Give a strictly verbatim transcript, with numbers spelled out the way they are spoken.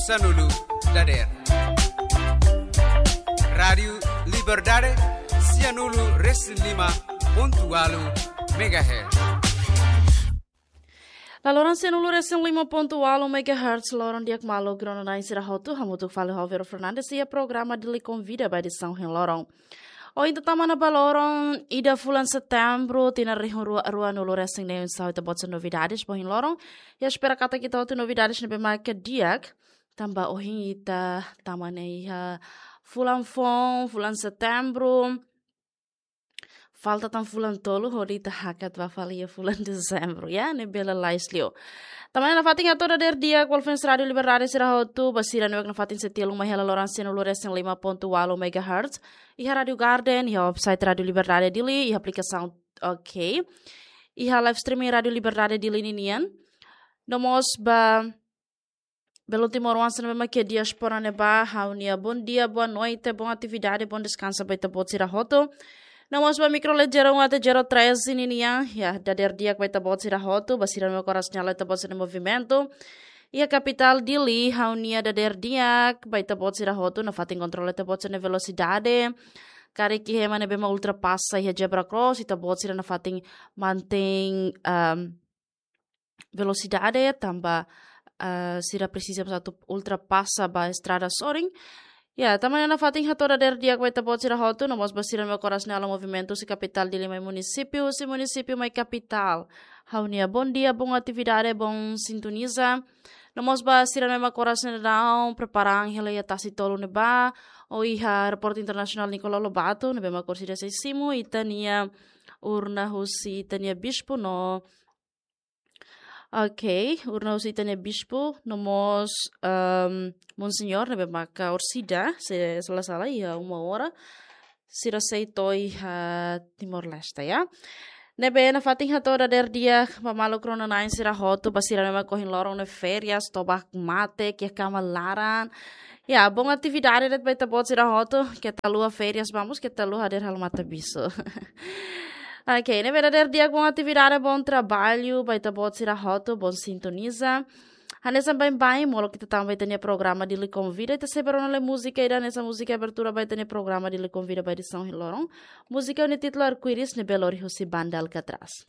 Sanulu dader. Rádiu Liberdade, sianulu resin lima pontu walu megahertz. Laloran sianulu resin lima pontu walu megahertz, loron di'ak maluk rona-na'in sira hotu, hamutuk fali ho Vero Fernandes iha programa Dili Konvida ba edisaun ohin loron. Ohin ita tama ona ba loron ida fulan Setembru, tinan rihun rua, ruanulu resin neen, oinsá ita-boot sira novidades ba ohin loron. Ha'u espera katak ita hotu novidades ne'ebé maka di'ak, tanba ohin ita tama ona iha fulan foun, fulan Setembru. Falta tan fulan tolu hodi ita hakat ba fali iha fulan Dezembru, ya, ne'e bele lais liu. Tama ona nafatin hato'o dader di'ak ba fans Rádiu Liberdade sira hotu, ba sira ne'ebé nafatin sei tilun mai hela loran sianulu resin lima pontu walu megahertz. Iha Rádiu Garden, iha website Rádiu Liberdade Dili, iha aplikasaun, oke. Iha live streaming Rádiu Liberdade Dili ninian. No mós ba belun timoroan sira ne'ebé mak iha diáspora ne'ebá, ha'u-nia bom dia, boa noite, bom atividade, bom descanso ba ita-boot sira hotu. No mós ba mikro lejera um até zero treze ninian, ya, dader di'ak ba ita-boot sira hotu, ba sira ne'ebé mak oras ne'e halo ita-boot sira-nia movimentu. Iha kapitál Dili, ha'u-nia dader di'ak ba ita-boot sira hotu, nafatin kontrola ita-boot sira-nia velosidade. Karik iha ema ne'ebé mak ultrapasa iha zebra cross, ita-boot sira nafatin mantein, ehm, velosidade, tanba, eh, sira presiza mós atu ultrapasa ba estrada sorin. Ya, tama ona nafatin hato'o dader di'ak ba ita-boot sira hotu, no mós ba sira ne'ebé mak oras ne'e halo movimentu husi kapitál Dili mai munisípiu, husi munisípiu mai kapitál. Ha'u-nia bom dia, bom atividade, bom sintoniza. No mós ba sira ne'ebé mak oras ne'e daudaun prepara an hela iha tasi tolu ne'ebá, ou iha Aeroportu Internasionál Nicolau Lobato, ne'ebé mak orsida sei simu ita-nia urna husi ita-nia bispu no, oke, urna husi ita-nia bispu, no mós, ehm, Monseñór, ne'ebé maka orsida, se la sala, iha uma hora, sira sei to'o iha Timor-Leste, ya. Ne'ebé nafatin hato'o dader di'ak ba maluk rona-na'in sira hotu, ba sira ne'ebé mak ohin loron ne'e férias, toba mate, iha kama laran. Ya, bom atividade de'it ba ita-boot sira hotu, keta haluha férias, vamos, keta haluha hadeer halo matabixu. Oke, ne'ebé dader di'ak, bom atividade, bom trabalho ba ita-boot sira hotu, bom sintoniza. Hanesan baibain, molok ita tama ba ita-nia programa Dili Konvida, ita sei bá rona lai múzika ida hanesan múzika abertura ba ita-nia programa Dili Konvida ba edisaun ohin loron. Múzika nia títulu Arco-Íris, ne'ebé lori husi Banda Alcatraz.